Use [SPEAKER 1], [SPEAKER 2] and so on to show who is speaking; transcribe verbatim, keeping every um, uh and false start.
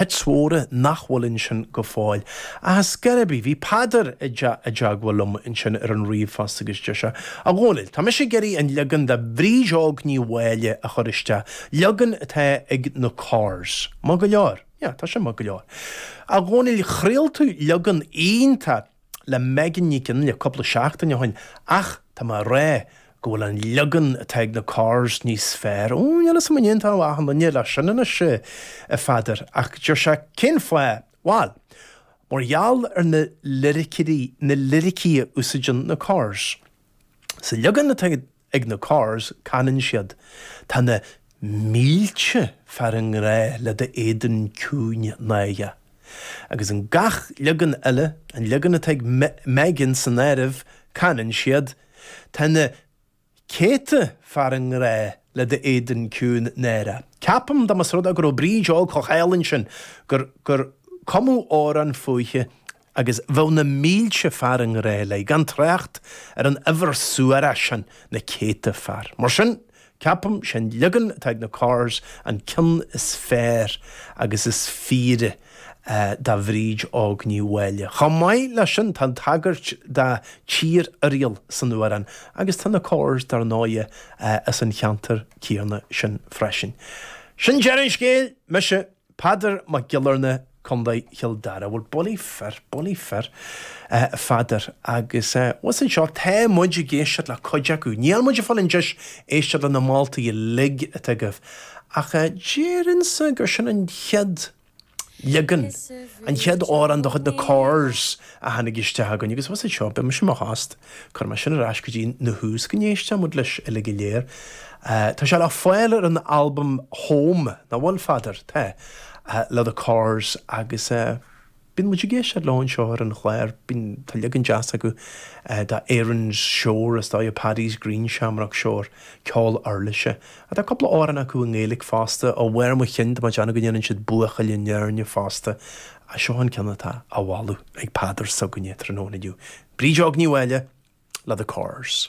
[SPEAKER 1] Hits mhóra nach bhfuil ansin go fóill. Ach scor ar bith, bhí Peadar i dteagmháil liom ansin ar an ríomhphost agus deir sé, A Dhónaill, tá mise ag iarraidh an leagan de Bhríd Óg Ní Mháille a chur isteach, leagan atá ag na Corrs. Maith go leor. Yeah, tá sé maith go leor. A Dhónaill, chraol tú leagan iontach le Megan Nic Fhionnghaile cúpla seachtain ó shin, ach tá mé a rá go bhfuil an leagan atá ag na Corrs níos fearr. Ó, níl a fhios agam an aontódh achan duine leis sin anois, a Pheadair, ach deir sé, cén fáth? Bhail, mar gheall ar na liricí, na liricí a úsáideann na Corrs. Sa leagan atá ag na Corrs, canann siad, Tá na mílte fear i ngrá le d'éadan ciúin náireach. Agus in gach leagan eile, an leagan atá ag Megan san áireamh, canann siad, Tá na céadta fear i ngrá le d'éadan ciúin náireach. Ceapaim dá mba rud é go raibh Bríd Óg chomh hálainn sin gur gur cumadh amhrán fúithi agus bheadh na mílte fear i ngrá léi, gan trácht ar an uimhir suarach sin, na céadta fear. Mar sin, ceapaim, sé'n leagan atá ag na Corrs an ceann is fearr agus is fíre do Bhríd Óg Ní Mháille. Chomh maith leis sin, tá an tagairt do Tír Oiriall san amhrán agus tá na Corrs, dar ndóighe, as an cheantar céanna sin freisin. Sin deireadh an scéil! Mise, Peadar Mac Giollarnáth, Contae Chill Dara. Bhuel, bullaí fir, bullaí fir, a Pheadair. Agus abhus anseo, tá muid ag éisteacht le cuid acu. Níl muid ag fáil an deis éisteacht le na moltaí uilig atá agaibh. Ach déarfainnse gur sin an chéad leagan, an chéad amhrán de chuid na Corrs a tháinig isteach againn. Agus abhus anseo, beidh mise i mo thost, cuirfidh mé sin ar ais go dtí na thús go n-éistfidh muid leis uilig go léir. Tá sé le fáil ar an albam Home, nach bhfuil, a Pheadair? Tá. Le The Corrs agus bíonn muid ag éisteacht leo anseo ar an chlár, bíonn, tá leagan deas acu de Erin's Shore, is dóigh, Paddy's Green Shamrock Shore, ceol uirlise. Tá cúpla amhrán acu i nGaeilge fosta, ó bharr mo chinn, tá mé ag déanamh go ndéanann siad Buachaill na hÉirne fosta. Seo an ceann atá á mholadh ag Peadar s'againne tráthnóna inniu. Bríd Óg Ní Mháille le The Corrs.